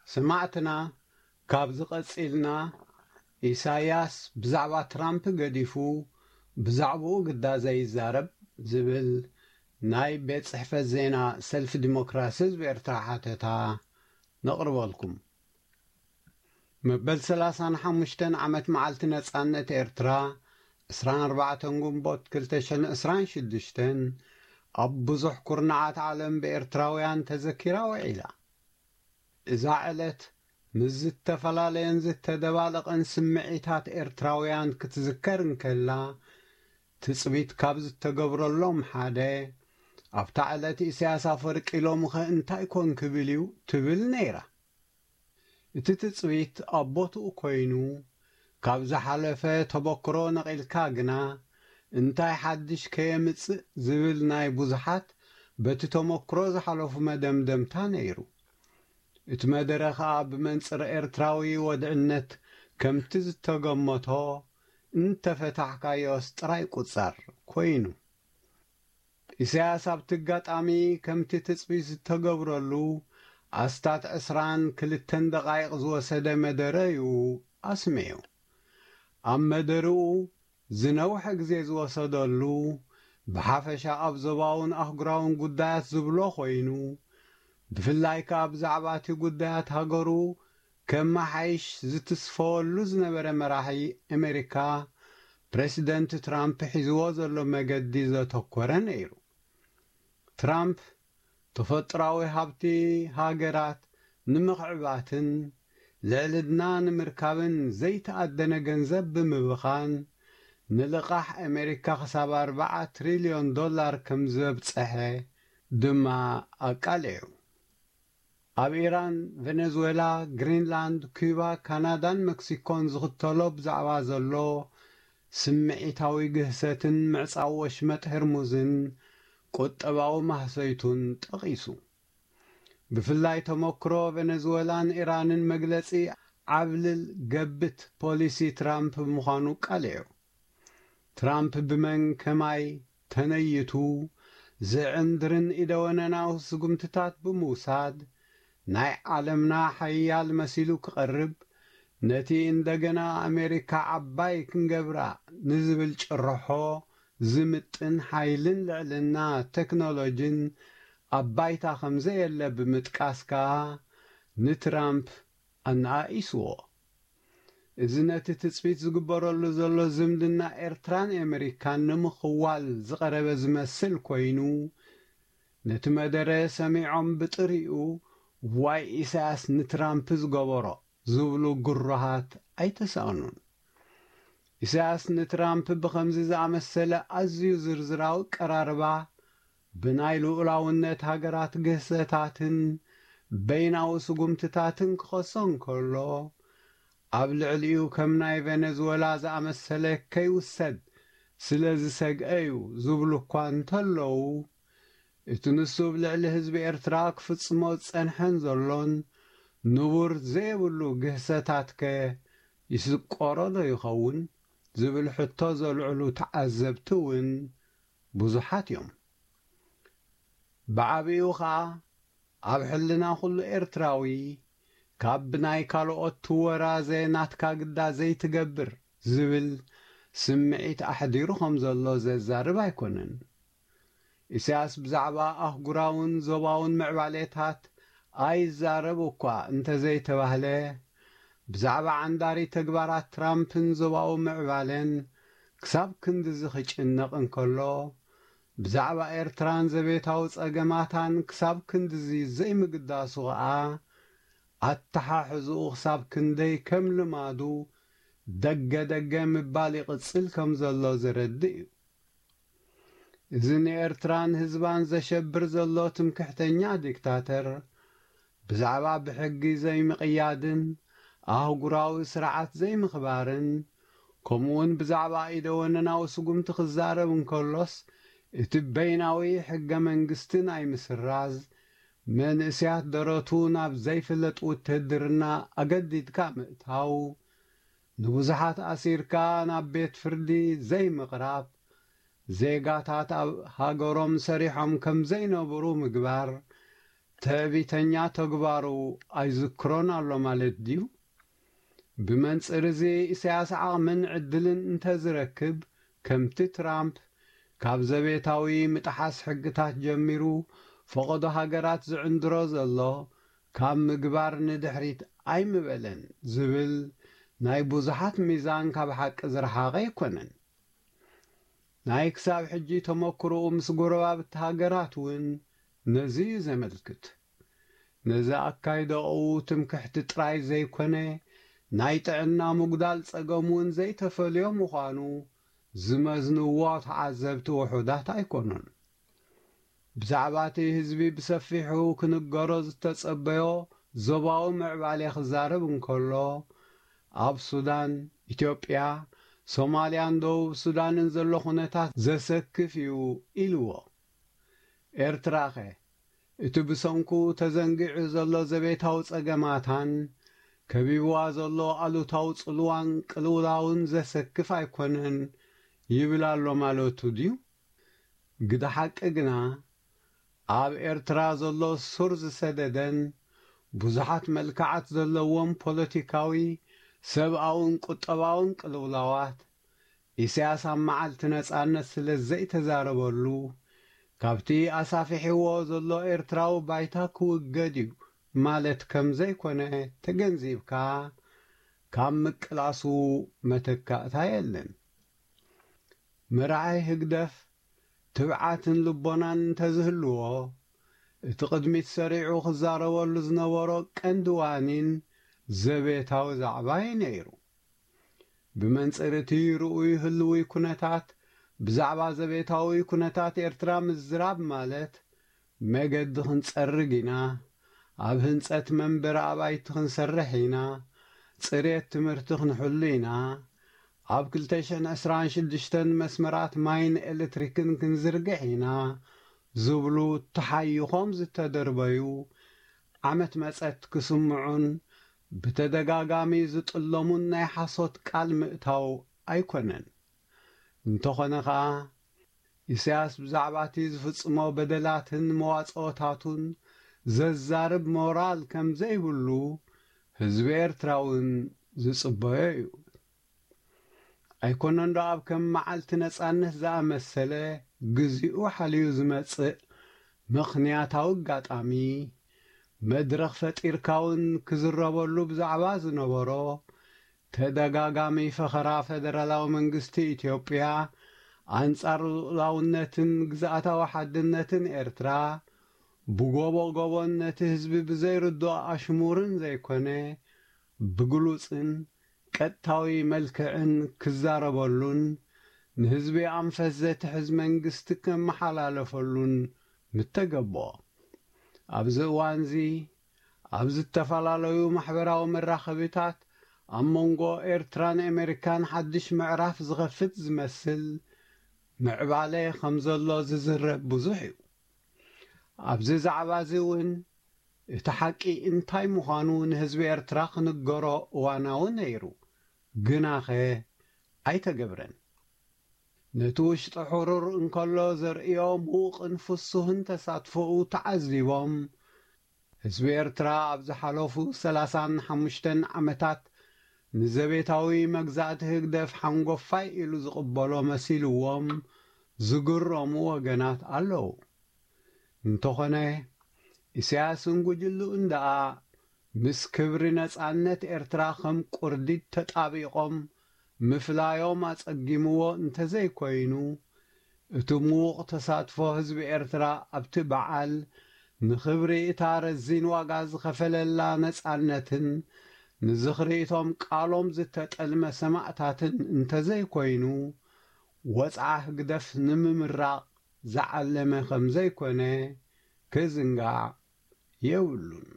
ሰማዕትና፣ ካብዚ ቀጺልና፣ ኢሳያስ ብዛዕባ ትራምፕ ገዲፉ ብዛዕባኡ ግዳ ዘይዛረብ ዝብል ናይ ቤት ጽሕፈት ዜና ሰልፊ ዲሞክራሲ ህዝቢ ኤርትራ ሓተታ ነቕርበልኩም። መበል ሰላሳን ሓሙሽተን ዓመት መዓልቲ ነጻነት ኤርትራ፣ ዕስራን ኣርባዕተን ግንቦት ክልተ ሽሕን ዕስራን ሽዱሽተን፣ ኣብ ብዙሕ ኩርናዓት ዓለም ብኤርትራውያን ተዘኪራ ውዒላ። እዛ ዕለት ምስ ዝተፈላለየን ዝተደባለቐን ስምዒታት ኤርትራውያን ክትዝከር እንከላ፣ ትጽቢት ካብ ዝተገብረሎም ሓደ፣ ኣብታ ዕለት ኢሳያስ ኣፈወርቂ ሎምኸ እንታይ ኮን ክብል እዩ? ትብል ነይራ። እቲ ትጽቢት ኣብ ቦትኡ ኮይኑ፣ ካብ ዝሓለፈ ተመክሮ ነቒልካ ግና፣ እንታይ ሓድሽ ከየምጽእ ዝብል ናይ ብዙሓት በቲ ተመክሮ ዝሓለፉ መደምደምታ ነይሩ። እቲ መደረ ኸኣ ብመንጽር ኤርትራዊ ወድዕነት ከምቲ ዝተገመቶ እንተፈታሕካዮስ ጥራይ ቁጸር ኮይኑ። ኢሳያስ ኣብቲ ኣጋጣሚ ከምቲ ትጽቢት ዝተገብረሉ ኣስታት ዕስራን ክልተን ደቓይቕ ዝወሰደ መደረ እዩ ኣስሚዑ። ኣብ መደርኡ ዝነውሐ ግዜ ዝወሰደሉ፣ ብሓፈሻ ኣብ ዞባውን ኣህጉራውን ጉዳያት ዝብሎ ኮይኑ፣ ብፍላይ ከኣ ብዛዕባ እቲ ጉዳያት ሃገሩ ከመሓይሽ ዝትስፈወሉ ዝነበረ መራሒ ኣሜሪካ፣ ፕረሲደንት ትራምፕ ሒዝዎ ዘሎ መገዲ ዘተኮረ ነይሩ። ትራምፕ፣ ተፈጥራዊ ሃብቲ ሃገራት ንምኽዕባትን ልዕልና ንምርካብን ዘይተኣደነ ገንዘብ ብምብኻን፣ ንልቓሕ ኣሜሪካ ክሳብ ኣርባዓ ትሪልዮን ዶላር ከም ዘብጸሐ ድማ ኣቃሊዑ። ኣብ ኢራን፣ ቨነዝዌላ፣ ግሪንላንድ፣ ኩባ፣ ካናዳን መክሲኮን ዝኽተሎ ብዛዕባ ዘሎ ስምዒታዊ ግህሰትን ምዕጻው ወሽመጥ ህርሙዝን ቁጠባዊ ማህሰይቱን ጠቒሱ። ብፍላይ ተመክሮ ቨነዝዌላን ኢራንን መግለጺ ዓብልል ገብት ፖሊሲ ትራምፕ ብምዃኑ ቃሊዑ። ትራምፕ ብመን ከማይ ተነይቱ ዝዕንድርን ኢደወነናዊ ስጉምትታት ብምውሳድ ናይ ዓለምና ሓያል መሲሉ ክቐርብ፣ ነቲ እንደገና ኣሜሪካ ዓባይ ክንገብራ ንዝብል ጭርሖ ዝምጥን ሓይልን ልዕልና ቴክኖሎጂን ኣብ ባይታ ከም ዘየለ ብምጥቃስ ከኣ ንትራምፕ ኣነኣኢስዎ። እዚ ነቲ ትጽቢት ዝግበረሉ ዘሎ ዝምድና ኤርትራን ኣሜሪካን ንምኽዋል ዝቐረበ ዝመስል ኮይኑ፣ ነቲ መደረ ሰሚዖም ብጥሪኡ ዋይ ኢሳያስ ንትራምፕ ዝገበሮ ዝብሉ ግሩሃት ኣይተሳእኑን። ኢሳያስ ንትራምፕ ብኸምዚ ዝኣመሰለ ኣዝዩ ዝርዝራዊ ቀራርባ ብናይ ልኡላውነት ሃገራት ግህሰታትን በይናዊ ስጉምትታትን ክኸሶ እንከሎ፣ ኣብ ልዕሊኡ ከም ናይ ቬነዝወላ ዝኣመሰለ ከይውሰድ ስለ ዝሰግአ እዩ ዝብሉ እኳ እንተለዉ፣ እቲ ንሱ ኣብ ልዕሊ ህዝቢ ኤርትራ ክፍጽሞ ዝጸንሐን ዘሎን ንቡር ዘየብሉ ግህሰታትከ ይስቆሮ ዶ ይኸውን? ዝብል ሕቶ ዘልዕሉ ተዓዘብቲ እውን ብዙሓት እዮም። ብዓቢኡ ኸኣ ኣብ ሕልና ኩሉ ኤርትራዊ ካብ ብናይ ካልኦት ትወራዘ ናትካ ግዳ ዘይትገብር ዝብል ስምዒት ኣሕዲሩ ከም ዘሎ ዘዛርብ ኣይኮነን። ኢሳያስ ብዛዕባ ኣህጉራውን ዞባውን ምዕባሌታት ኣይዛረብ እኳ እንተዘይተባህለ፣ ብዛዕባ ዓንዳሪ ተግባራት ትራምፕን ዞባዊ ምዕባለን ክሳብ ክንድዚ ክጭነቕ እንከሎ፣ ብዛዕባ ኤርትራን ዘቤታዊ ጸገማታን ክሳብ ክንድዚ ዘይምግዳሱ ኸኣ፣ ኣተሓሕዝኡ ክሳብ ክንደይ ከም ልማዱ ደገ ደገ ምባል ይቕጽል ከም ዘሎ ዘረድእ እዩ። እዚ ንኤርትራን ህዝባን ዘሸብር ዘሎ ትምክሕተኛ ዲክታተር፣ ብዛዕባ ብሕጊ ዘይምቕያድን ኣህጉራዊ ስርዓት ዘይምኽባርን፣ ከምኡውን ብዛዕባ ኢደወነናዊ ስጉምቲ ክዛረብ እንከሎስ፣ እቲ በይናዊ ሕገ መንግስቲ ናይ ምስራዝ፣ መንእስያት ደረቱ ናብ ዘይፍለጥ ውትህድርና ኣገዲድካ ምእታው፣ ንብዙሓት ኣሲርካ ናብ ቤት ፍርዲ ዘይምቕራብ፣ ዜጋታት ኣብ ሃገሮም ሰሪሖም ከም ዘይነብሩ ምግባር፣ ትዕቢተኛ ተግባሩ ኣይዝክሮን ኣሎ ማለት ድዩ? ብመንጽር እዚ፣ ኢሳያስ ዓቕምን ዕድልን እንተዝረክብ፣ ከምቲ ትራምፕ ካብ ዘቤታዊ ምጥሓስ ሕግታት ጀሚሩ ፈቐዶ ሃገራት ዝዕንድሮ ዘሎ፣ ካብ ምግባር ንድሕሪት ኣይምበለን ዝብል ናይ ብዙሓት ሚዛን ካብ ሓቂ ዝረሓቐ ኣይኮነን። ናይ ክሳብ ሕጂ ተመክሮኡ ምስ ጎረባብቲ ሃገራት እውን ነዚ እዩ ዘመልክት። ነዚ ኣካይዳኡ ትምክሕቲ ጥራይ ዘይኮነ፣ ናይ ጥዕና ምጉዳል ጸገም እውን ዘይተፈልዮ ምዃኑ ዝመዝንዎ ተዓዘብቲ ውሑዳት ኣይኮኑን። ብዛዕባ እቲ ህዝቢ ብሰፊሑ ክንገሮ ዝተጸበዮ ዞባዊ ምዕባሌ ክዛረብ እንከሎ፣ ኣብ ሱዳን፣ ኢትዮጵያ፣ ሶማልያን ደቡብ ሱዳንን ዘሎ ኩነታት ዘሰክፍ እዩ ኢልዎ። ኤርትራኸ? እቲ ብሰንኩ ተዘንጊዑ ዘሎ ዘቤታዊ ጸገማታን ከቢብዋ ዘሎ ኣሉታዊ ጽልዋን ቅልውላውን ዘሰክፍ ኣይኮነን ይብል ኣሎ ማለቱ ድዩ? ግደ ሓቂ ግና፣ ኣብ ኤርትራ ዘሎ ሱር ዝሰደደን ብዙሓት መልክዓት ዘለዎም ፖለቲካዊ፣ ሰብኣውን ቁጠባውን ቅልውላዋት፣ ኢሳያስ ኣብ መዓልቲ ነጻነት ስለ ዘይተዛረበሉ፣ ካብቲ ኣሳፊሕዎ ዘሎ ኤርትራዊ ባይታ ክውገድ እዩ ማለት ከም ዘይኮነ ተገንዚብካ፣ ካብ ምቅላሱ መተካእታ የለን። መራሒ ህግደፍ ትብዓትን ልቦናን እንተዝህልዎ፣ እቲ ቅድሚት ሰሪዑ ክዛረበሉ ዝነበሮ ቀንዲ ዋኒን ዘቤታዊ ዛዕባ እዩ ነይሩ። ብመንጽር እቲ ርኡይ ህልዊ ኩነታት፣ ብዛዕባ ዘቤታዊ ኩነታት ኤርትራ ምዝራብ ማለት፣ መገዲ ክንጸርግ ኢና፣ ኣብ ህንጸት መንበሪ ኣባይቲ ክንሰርሕ ኢና፣ ጽሬት ትምህርቲ ክንሕሉ ኢና፣ ኣብ ክልተ ሽሕን ዕስራን ሽዱሽተን መስመራት ማይን ኤሌክትሪክን ክንዝርግሕ ኢና ዝብሉ ተሓይኾም ዝተደርበዩ፣ ዓመት መጸት ክስምዑን ብተደጋጋሚ ዝጥለሙን ናይ ሓሶት ቃል ምእታው ኣይኮነን። እንተኾነ ኸኣ፣ ኢሳያስ ብዛዕባ እቲ ዝፍጽሞ በደላትን መዋጽኦታቱን ዘዛርብ ሞራል ከም ዘይብሉ ህዝቢ ኤርትራ እውን ዝጽበዮ እዩ። ኣይኮነን ዶ ኣብ ከም መዓልቲ ነጻነት ዝኣመሰለ፣ ግዚኡ ሓልዩ ዝመጽእ ምኽንያታዊ ኣጋጣሚ፣ መድረኽ ፈጢርካ እውን ክዝረበሉ ብዛዕባ ዝነበሮ፣ ተደጋጋሚ ፈኸራ ፈደራላዊ መንግስቲ ኢትዮጵያ ኣንጻር ልኡላውነትን ግዝኣታዊ ሓድነትን ኤርትራ፣ ብጎቦ ጎቦን ነቲ ህዝቢ ብዘይርድኦ ኣሽሙርን ዘይኮነ፣ ብግሉጽን ቀጥታዊ መልክዕን ክዛረበሉን ንህዝቢ ኣንፈት ዘትሕዝ መንግስቲ ከመሓላለፈሉን ምተገብኦ። ኣብዚ እዋንዚ ኣብ ዝተፈላለዩ ማሕበራዊ መራኸቢታት ኣብ መንጎ ኤርትራን ኣሜሪካን ሓድሽ ምዕራፍ ዝኸፍት ዝመስል ምዕባለ ከም ዘሎ ዝዝረብ ብዙሕ እዩ። ኣብዚ ዛዕባ እዚ እውን እቲ ሓቂ እንታይ ምዃኑ ንህዝቢ ኤርትራ ክንገሮ እዋናዊ ነይሩ፣ ግናኸ ኣይተገብረን። ነቲ ውሽጢ ሕሩር እንከሎ ዘርእዮ ምዉቕን ፍሱህን ተሳትፎኡ ተዓዚቦም፣ ህዝቢ ኤርትራ ኣብ ዝሓለፉ ሰላሳን ሓሙሽተን ዓመታት ንዘቤታዊ መግዛእቲ ህግደፍ ሓንጎፋይ ኢሉ ዝቕበሎ መሲልዎም ዝግረሙ ወገናት ኣለዉ። እንተኾነ፣ ኢሳያስን ጉጅልኡን ደኣ ምስ ክብሪ ነጻነት ኤርትራ ከም ቁርዲድ ተጣቢቖም ምፍላዮም ኣጸጊምዎ እንተዘይኮይኑ፣ እቲ ምዉቕ ተሳትፎ ህዝቢ ኤርትራ ኣብቲ በዓል፣ ንኽብሪ እታ ረዚን ዋጋ ዝኸፈለላ ነጻነትን ንዝኽሪ እቶም ቃሎም ዝተጠልመ ሰማእታትን እንተዘይኮይኑ፣ ወጽዓ ህግደፍ ንምምራቕ ዝዓለመ ከም ዘይኮነ ክዝንጋዕ የብሉን።